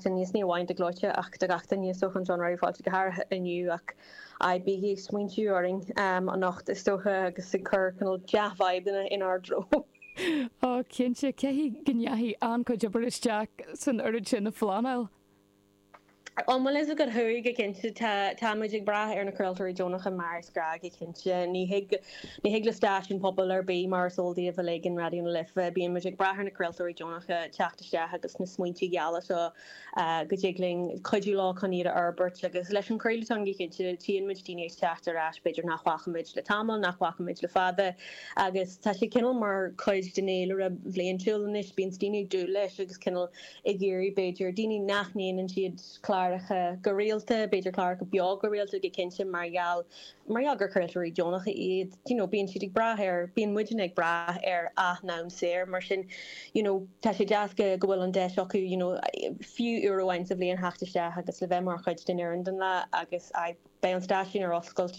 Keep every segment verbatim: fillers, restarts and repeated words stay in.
duine, is ní amháin do Gleoite ach do gach duine is dócha anseo in Raidió Fáilte, go háirithe inniu ach aye, bígí ag smaointiú orainn anocht is dócha agus ag cur cineál dea-vibeanna inár dtreo. Ó cinnte, caithfidh go ndeachaigh an-chuid obair isteach san oiread sin a phleanáil. An bhfuil fhios agat chuaigh go cinnte tá tá muid ag brath ar na craoltóirí deonacha mar is gnách go cinnte. Ní thig ní thig le stáisiún pobail ar bith mar is eol daoibh uilig in Raidió na Life bíonn muid ag brath ar na craoltóirí deonacha teacht isteach agus na smaointe geala seo go dtig linn cuidiú leo chun iad a fhorbairt agus leis an chraoladh go cinnte tchíonn muid daoine ag teacht ar ais b'fhéidir nach bhfaca muid le tamall nach bhfaca muid le fada agus tá sé cineál mar chuid den fhéilire bhliantúil anois bíonn daoine ag dúil leis agus cineál ag iarraidh b'fhéidir daoine nach ndéanann siad cláracha go rialta, b'fhéidir cláracha beo go rialta go cinnte mar gheall mar gheall gur craoltóirí deonacha iad, you know, bíonn siad ag brath ar bíonn muidne ag brath ar a n-am saor mar sin you know, tá sé deas go go bhfuil an deis acu you know, fiú uair amháin sa bhliain theacht isteach agus le bheith mar chuid den fhoireann den lá agus beidh an stáisiún ar oscailt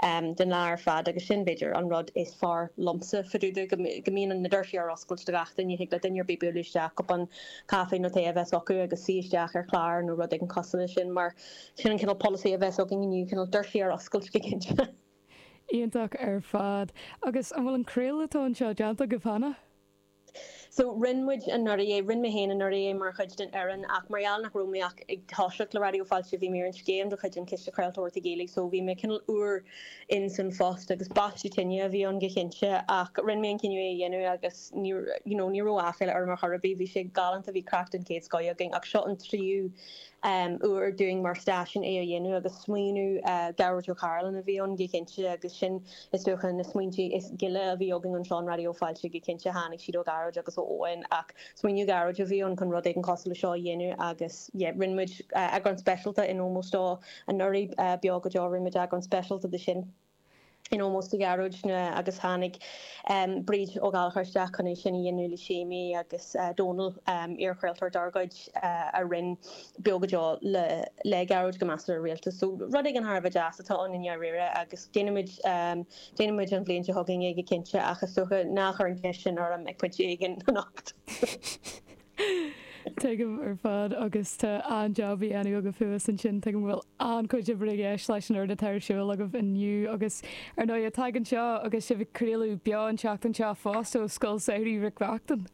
um, den lá ar fad agus sin b'fhéidir an rud is fearr liomsa fá dtaobh de go go mbíonn na doirsí ar oscailt do gach duine thig le duine ar bith bualadh isteach cupán caife nó tae a bheith acu agus suí isteach ar chlár nó rud éigin cosúil leis sin mar sin an cineál polasaí a bheas againn inniu cineál doirsí ar oscailt go cinnte. Iontach ar fad agus an bhfuil an craoladh anseo déanta agaibh cheana? So rinne muid anuraidh é rinne mé féin anuraidh é mar chuid den fhoireann ach mar gheall nach raibh mé ach ag toiseacht le Raidió Fáilte bhí mé ar an scéim de chuid an Chiste Craoltóireachta Gaeilge so bhí mé cineál úr in san phost agus baisteadh tine a bhí ann go cinnte ach rinne mé an cinneadh é a dhéanamh agus ní you know, ní raibh aiféala orm ar chor ar bith bhí sé galánta bhí craic den chéad scoth againn ach seo an tríú um, uair dúinn mar stáisiún é a dhéanamh agus smaoineamh uh, Gearóid Ó Cairealláin a bhí ann go cinnte agus sin is dócha na smaointe is gile a bhí againn anseo in Raidió Fáilte go cinnte tháinig siad ó Ghearóid agus ó Eoin ach smaoineamh Gearóid a bhí ann chun rud éigin cosúil le seo a dhéanamh agus yeah, rinne muid uh, eagrán speisialta in ómós dó anuraidh uh, beo go deo rinne muid eagrán speisialta de sin in ómós do Ghearóid na agus tháinig um, Bríd Ó Gallchóir isteach chun é sin a dhéanamh le Séimí agus uh, Dónal um, iarchraoltóir dár gcuid uh, a rinne beo go deo le le Gearóid go measartha rialta. So rud éigin thar a bheith deas atá ann i ndáiríre agus déanfaimid um, déanfaimid an bhliain seo chugainn é go cinnte ach is dócha ná cuir an cheist sin orm ag pointe éigin anocht. Tuigim ar fad agus tá an-jab á dhéanamh agaibh thuas ansin tuigim bhfuil an-chuid oibre i gceist leis an rud atá ar siúl agaibh inniu agus ar ndóigh tagann seo agus sibh ag craoladh beo an tseachtain seo fosta ó Scoil Samhraidh Mhic Reachtain.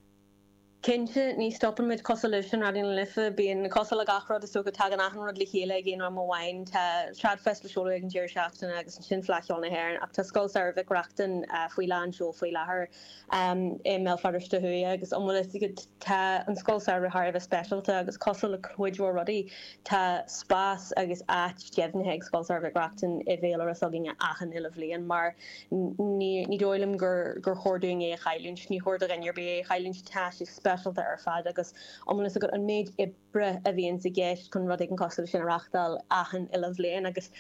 Cinnte ní stopann muid cosúil leis an Raidió na Life bíonn cosúil le gach rud is go tagann achan rud le chéile ag aon am amháin tá Tradfest le seoladh ag an deireadh seachtaine agus ansin Fleadh Cheoil na hÉireann ach tá Scoil Samhraidh Mhic Reachtain uh, faoi lán seoil faoi láthair um, i mBéal Feirste Thuaidh agus an bhfuil fhios agat tá an Scoil Samhraidh thar a bheith speisialta agus cosúil le cuid mhór rudaí tá spás agus áit deimhnithe ag Scoil Samhraidh Mhic Reachtain i bhféilire s'againne achan uile bhliain mar ní ní dóigh liom gur gur chóir dúinn é a chailliúint ní chóir do dhuine ar bith é a chailliúint tá sé speisialta ar fad agus an bhfuil agat an méid oibre a bhíonn i gceist chun rud éigin cosúil sin a reáchtáil achan uile bhliain agus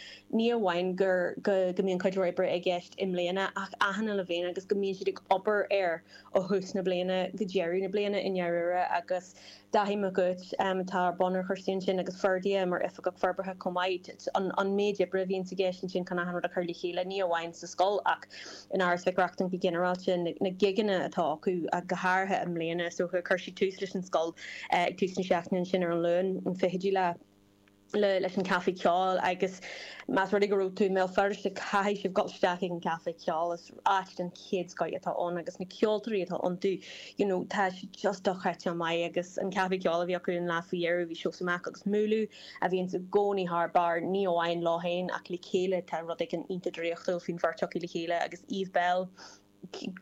ní amháin gur go go mbíonn cuid oibre i gceist i mbliana ach achan uile bhliain agus go mbíonn siad ag obair air ó thús na bliana go deireadh na bliana i ndáiríre agus Daithí Mac um, atá ar bun ar chúrsaí sin agus Ferdia mar oifigeach forbartha chomh maith an, an méid oibre a bhíonn i gceist sin chun achan rud a chur le chéile ní amháin sa scoil ach in Áras Mhic Reachtain go ginearálta na, na gigeanna atá acu go háirithe i mbliana so chuir siad tús leis an scoil uh, ag tús na seachtaine sin ar an Luan an fichiú lá le leis an caife ceoil agus más rud é go raibh tú i mBéal Feirste caithfidh sibh dul isteach ag an caife ceoil is áit den chéad scoth atá ann agus na ceoltóirí atá iontu you know tá just dochreidte maith agus an caife ceoil a bhí acu an lá faoi dheireadh bhí Seosamh Mac agus Múlú a bhíonn i gcónaí thar barr ní amháin leo féin ach le chéile tá rud éigin iontach draíochtúil faoin bheirt acu le chéile agus Eve Bell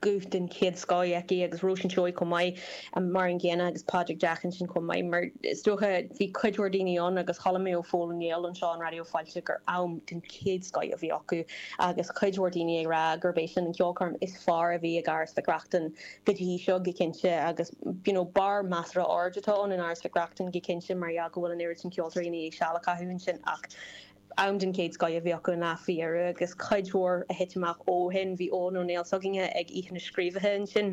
guth den chéad scoth aici agus Róisín Seoighe chomh maith mar an gcéanna agus Pádraig Jack sin chomh maith mar is dócha bhí cuid mhór daoine ann agus chuala mé ó Phól Ó Néill anseo an Raidió Fáilte gur am den chéad scoth a bhí acu agus cuid mhór daoine ag rá gurb é sin an ceolchoirm is fearr a bhí ag Áras Mhic Reachtain go dtí seo go cinnte agus you know, barr measartha ard atá ann in Áras Mhic Reachtain go cinnte mar yeah go bhfuil an oiread sin ceoltóirí ag seal a chaitheamh ansin ach am den chéad scoth a bhí acu an lá faoi dheireadh agus cuid mhór a thit amach ó shin bhí Eoin Ó Néill s'againne ag Oíche na Scríobhaithe ansin.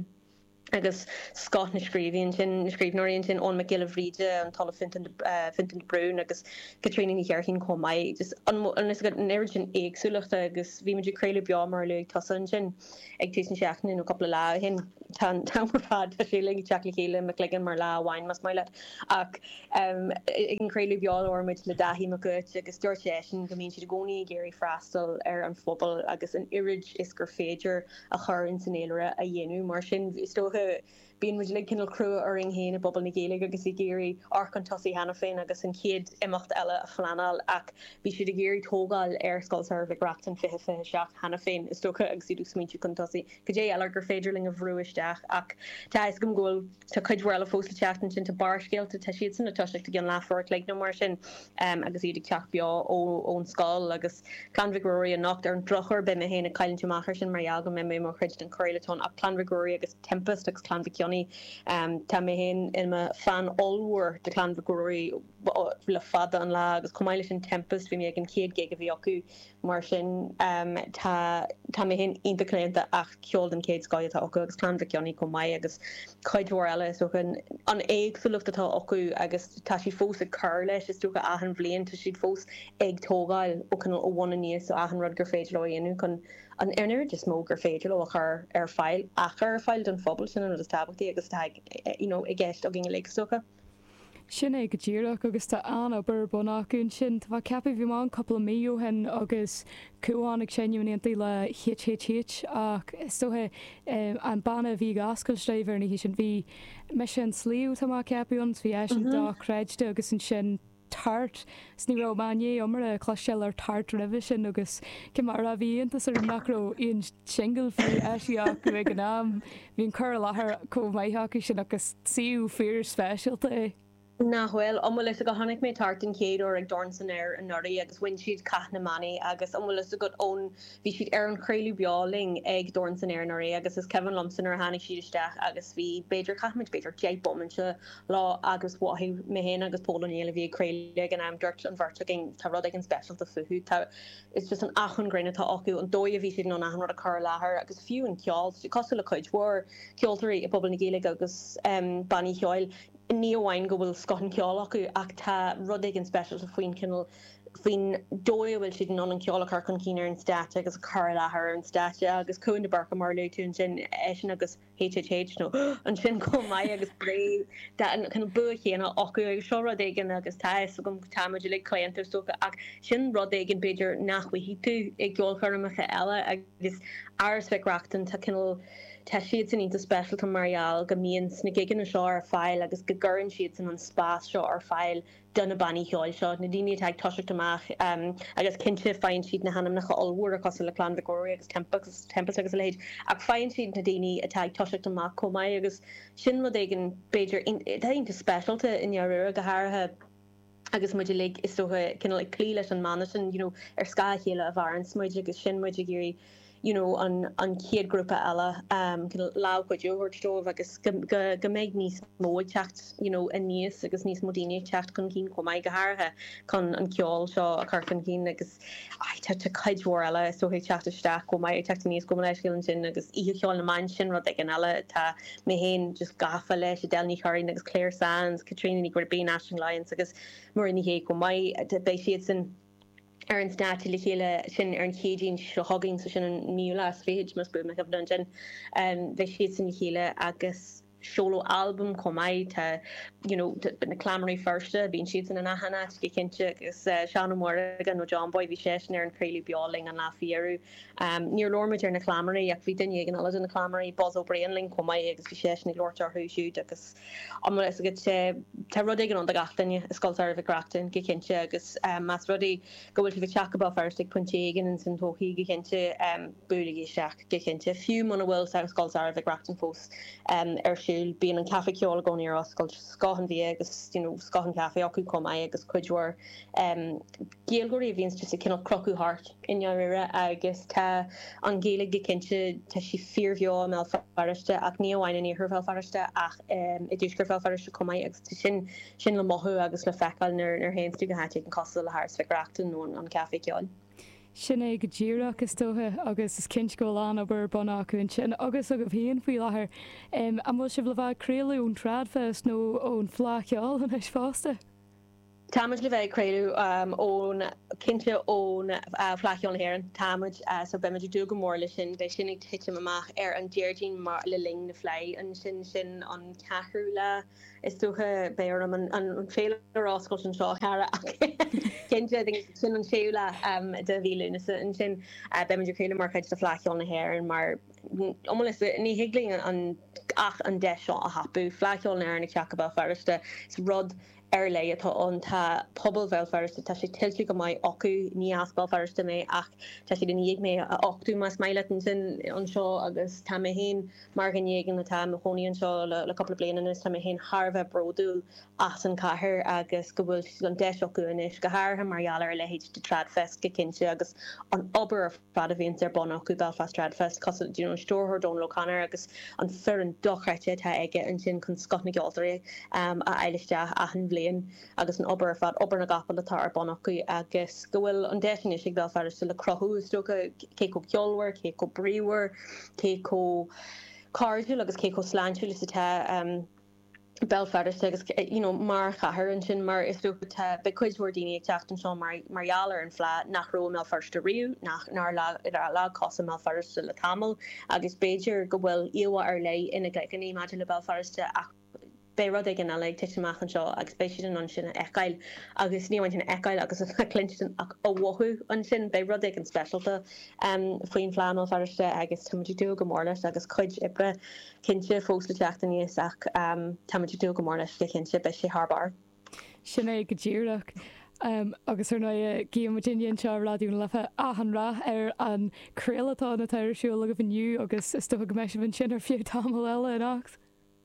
Agus scoth na scríbhneoirí ansin, na scríbhneoirí ansin, Eoghan Mac Giolla Bhríde, an tOllamh Fintan Fintan de Brún agus Caitríona Ní Cheirdín chomh maith. Just an an oiread sin éagsúlachta agus bhí muid ag craoladh beo mar a luaigh tusa ansin ag tús na seachtaine nó cúpla lá ó shin. Tá an t-am ar fad, tá sé uilig ag teacht le chéile i mo chloigeann mar lá amháin más maith leat. Ach ag an chraoladh beo labhair muid le Dáithí Mac Uait agus dúirt seisean go mbíonn siad i gcónaí ag iarraidh freastal ar an phobal agus an oiread is gur féidir a chur ins an fhéilire a dhéanamh. Mar sin, is dócha, bíonn muid uilig cineál crua orainn féin i bpobal na Gaeilge agus ag iarraidh amharc chun tosaigh cheana féin agus an chéad imeacht eile a phleanáil ach bhí siad ag iarraidh tógáil ar Scoil Samhraidh Mhic Reachtain fiche fiche seacht cheana féin, is dócha, agus iad ag smaointiú chun tosaigh cad é eile gur féidir linn a bhrú isteach ach tá a fhios agam go bhfuil tá cuid mhór eile fós le teacht ansin, tá Barrscéalta, tá siadsan ag toiseacht i gceann leathuair a chloig nó mar sin agus iad ag teacht beo ón scoil agus Clann Mhic Ruairí anocht. Ar an drochuair beidh mé féin ag cailliúint amach ar sin mar gheall go mbeidh mé mar chuid den chraolathon ach Clann Mhic Ruairí agus Tempest agus Clann Mhic Cionnaith. Tá mé féin i mo fan ollmhór de Chlann Mhic Ruairí le fada an lá agus chomh maith leis sin Tempest bhí mé ag an chéad gig a bhí acu mar sin tá tá mé féin iontach claonta ach ceol den chéad scoth atá acu agus Clann Mhic Cionnaith chomh maith agus cuid mhór eile is dócha an éagsúlacht atá acu agus tá siad fós ag cur leis is dócha achan bhliain tá siad fós ag tógáil ó cineál ó bhun aníos ó achan rud gur féidir leo a dhéanamh chun an oiread is mó gur féidir leo a chur ar fáil a chur ar fáil don phobal sin an rud is tábhachtaí agus atá you know i gceist againn uilig is dócha. Sin é go díreach agus tá an-obair ar bun acu ansin. Tá mé ag ceapadh bhí mé ann cúpla mí ó shin agus Cúán ag seinm in éindí le HHH ach is dócha an banna a bhí ag oscailt dóibh ar an oíche sin bhí Mise an Sliabh tá mé ag ceapadh ann bhí eisean dochreidte agus ansin Tart 's ní raibh mé i ndiaidh iomaire cloisteáil ar Tart roimhe sin agus cé mar a bhí iontas orm nach raibh aon singil faoi eisithe acu ag an am. Bhí an cur i láthair chomh maith acu sin agus suíomh fíor speisialta é. Nach bhfuil? An bhfuil fhios agat, chonaic mé Tart den chéad uair ag Dorn san Aer anuraidh agus bhain siad Cath na mBannaí agus an bhfuil fhios agat ón, bhí siad ar an chraoladh beo linn ag Dorn san Aer anuraidh agus is cuimhin liomsa nuair a tháinig siad isteach agus bhí b'fhéidir, chaith muid b'fhéidir deich bomainte leo agus mhothaigh mé féin agus Pól Ó Néill a bhí ag craoladh ag an am, dúirt an bheirt againn tá rud éigin speisialta fúthu, tá, it's just an acmhainn grinn atá acu, an dóigh a bhí siad in ann achan rud a chur i láthair agus fiú an ceol, cosúil le cuid mhór ceoltóirí i bpobal na Gaeilge agus bannaí ceoil, ní amháin go bhfuil scoth an cheoil acu ach tá rud éigin speisialta faoin chineál, faoin dóigh a bhfuil siad in ann an ceol a chur chun cinn ar an stáitse agus a chur i láthair ar an stáitse agus Cúán de Búrca mar a luaigh tú ansin, eisean agus HHH nó ansin chomh maith agus Bré, tá an cineál bua chéanna acu agus seo rud éigin agus tá a fhios agam tá muid uilig claonta is dócha ach sin rud éigin b'fhéidir nach bhfaighidh tú i gceolchoirmeacha eile agus Áras Mhic Reachtain tá cineál Tá siadsan iontach speisialta mar gheall go mbíonn na gigeanna seo ar fáil agus go gcuireann siadsan an spás seo ar fáil do na bannaí ceoil seo, na daoine atá ag toiseacht amach agus cinnte faigheann siad na hainmneacha ollmhóra cosúil le Clann Mhic Ruairí agus Tempest agus a leithéid ach faigheann siad na daoine atá ag toiseacht amach chomh maith agus sin rud éigin b'fhéidir atá iontach speisialta i ndáiríre, go háirithe agus muid uilig is dócha cineál ag cloí leis an mana sin you know ar scáth a chéile a mhaireanns muid agus sin muid ag iarraidh you know an an chéad ghrúpa eile um cineál lámh chuidiú a thabhairt dóibh agus go go go mbeidh níos mó ag teacht you know aníos agus níos mó daoine ag teacht chun cinn chomh maith go háirithe chun an ceol seo a chur chun cinn agus ai tá tá cuid mhór eile is dócha ag teacht isteach chomh maith ag teacht aníos gabh mo leithscéal ansin agus Oíche Cheoil na mBan sin rud éigin eile tá mé féin just gafa leis Edel Ní Churraoin agus Clare Sands, Caitríona Ní Ghribín, Aisling Lyons agus Muireann Ní Shé chomh maith beidh siadsan ar an stáitse le chéile sin ar an Chéadaoin seo chugainn, so sin an naoú lá is fichead más buan mo chuimhne ansin. Beidh siadsan le chéile agus seoladh albam chomh maith. Tá you know na Cleamairí Feirste, bíonn siadsan in achan áit go cinnte agus Seán Ó Muirthile nó John Boy, bhí seisean ar an chraoladh beo linn an lá faoi dheireadh. Níor labhair muid ar na Cleamairí ach bhí duine éigin eile de na Cleamairí, Buzz Ó Briain linn chomh maith agus bhí seisean ag labhairt orthu siúd agus an bhfuil fhios agat, tá rud éigin ann do gach duine i Scoil Samhraidh Mhic Reachtain go cinnte agus más rud é go bhfuil sibh ag teacht go Béal Feirste ag pointe éigin ins an todhchaí go cinnte, buailigí isteach go cinnte. Fiú muna bhfuil Scoil Samhraidh Mhic Reachtain fós ar siúl, bíonn an caife ceoil i gcónaí ar oscailt, scoth an bhia agus you know scoth an chaife acu chomh maith agus cuid mhór Gaeilgeoirí a bhíonns just ag cineál crochadh thart i ndáiríre agus tá an Ghaeilge go cinnte, tá sí fíorbheo i mBéal Feirste ach ní amháin in iarthar Bhéal Feirste ach i dtuaisceart Bhéal Feirste chomh maith agus tá sin sin le mothú agus le feiceáil nuair nuair a théanns tú go háit éigin cosúil le hÁras Mhic Reachtain nó an Caife Ceoil. Sin é go díreach is dócha agus is cinnte go bhfuil an-obair ar bun acu ansin agus agaibh féin faoi láthair. Um, an bhfuil sibh le bheith ag craoladh ón Tradfest nó ón Fleadh Cheoil anois fosta? Táimid le bheith ag craoladh um, ón cinnte ón uh, Fleadh Cheoil na hÉireann táimid uh, so beimid ag dúil go mór leis sin beidh sin ag titim amach ar an Déardaoin mar le linn na Fleidhe ansin sin an ceathrú lá is dócha beidh orm an, an, an féilire a oscailt anseo cara cinnte sin an séú lá um, de mhí Lúnasa ansin uh, beimid ag craoladh mar chuid de Fleadh Cheoil na hÉireann mar um, ní thig linn an ach an deis seo a thapú Fleadh Cheoil na hÉireann ag teacht go Béal Feirste is rud ar leith atá ann tá pobal Bhéal Feirste tá sé tuillte go maith acu ní as Béal Feirste mé ach tá siad i ndiaidh mé a uchtú más maith leat ansin anseo agus tá mé féin mar dhuine éigin atá i mo chónaí anseo le, le cúpla bliain anois tá mé féin thar a bheith bródúil as an cathair agus go bhfuil an deis acu anois go háirithe mar gheall ar a leithéid de Tradfest go cinnte agus an obair ar fad a bhíonn ar bun acu Belfast Tradfest cosúil you know, stiúrthóir Donal O'Connor agus an foireann dochreidte atá aige ansin chun scoth na gceoltóirí um, a fháil isteach achan bhliain agus an obair ar fad obair na gcapall atá ar bun acu agus go bhfuil an deis anois ag Béal Feirste le cruthú is dócha cé chomh ceolmhar, cé chomh bríomhar, cé chomh cairdiúil agus cé chomh sláintiúil is atá um, Béal Feirste agus you know, mar chathair ansin mar is dócha tá beidh cuid mhór daoine ag teacht anseo mar mar gheall ar an Fleadh nach raibh i mBéal Feirste riamh nach nár leag cos i mBéal Feirste le tamall agus b'fhéidir go bhfuil íomhá ar leith ina gcloigne maidir le Béal Feirste ach beidh rud éigin eile ag titim amach anseo agus beidh siad in ann sin a fheiceáil agus ní amháin sin a fheiceáil agus a chluinstin ach a mhothú ansin beidh rud éigin speisialta um, faoin Fleadh i mBéal Feirste agus táimid ag dúil go mór leis agus cuid oibre cinnte fós le teacht aníos ach um, táimid ag dúil go mór leis go cinnte beidh sé thar barr. Sin é go díreach. Um, agus ar ndóigh guímid anseo Raidió na Life achan rath ar an craoladh atá ar siúl agaibh inniu agus is dócha go mbeidh sibh ansin ar feadh tamall eile anocht.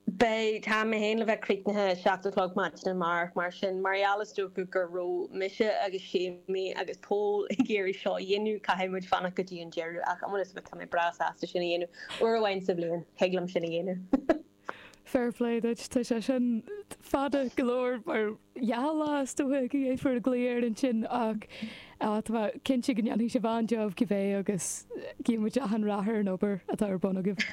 Beidh tá mé féin le bheith críochnaithe seacht a chlog maidin amárach mar sin mar gheall is dócha go raibh mise agus Séimí agus Pól ag iarraidh seo a dhéanamh caithfidh muid fanacht go dtí an deireadh ach an bhfuil fhios tá mé breá sásta sin a dhéanamh uair amháin sa bhliain thig liom sin a dhéanamh. Fair play duit tá sé sin fada go leor mar dhá lá is dócha go gcaithfear glaoch air ansin ach tá cinnte go ndéanfaidh sibh an-jab cibé agus guímid achan rath ar an obair atá ar bun agaibh.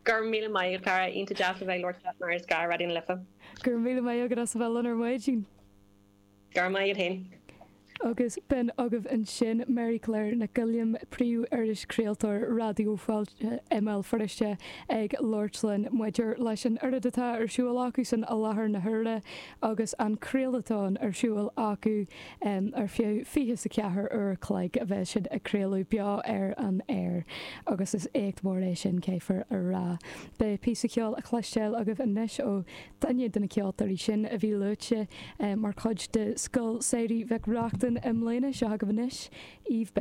Gur míle maith cara iontach deas a bheith labhairt mar is gar Raidió na Life. Gur míle maith agat as a bheith linn ar maidin. Gur maith féin. Agus b'in agaibh ansin Mary Claire Nic Uilliam príomh-irish craoltóir Raidió Fáilte i mBéal Feirste ag labhairt linn maidir leis an oiread atá ar siúl acu san i láthair na huaire agus an craolatón ar siúl acu um, ar feadh fiche a ceathair uair chloig a bheidh siad ag craoladh beo ar an aer agus is éacht mór é sin caithfear a rá. Beidh píosa ceoil le cloisteáil agaibh anois ó duine de na ceoltóirí sin a bhí luaite um, mar chuid de Scoil Samhraidh Mhic Reachtain i mbliana seo agaibh anois, Eve Belle.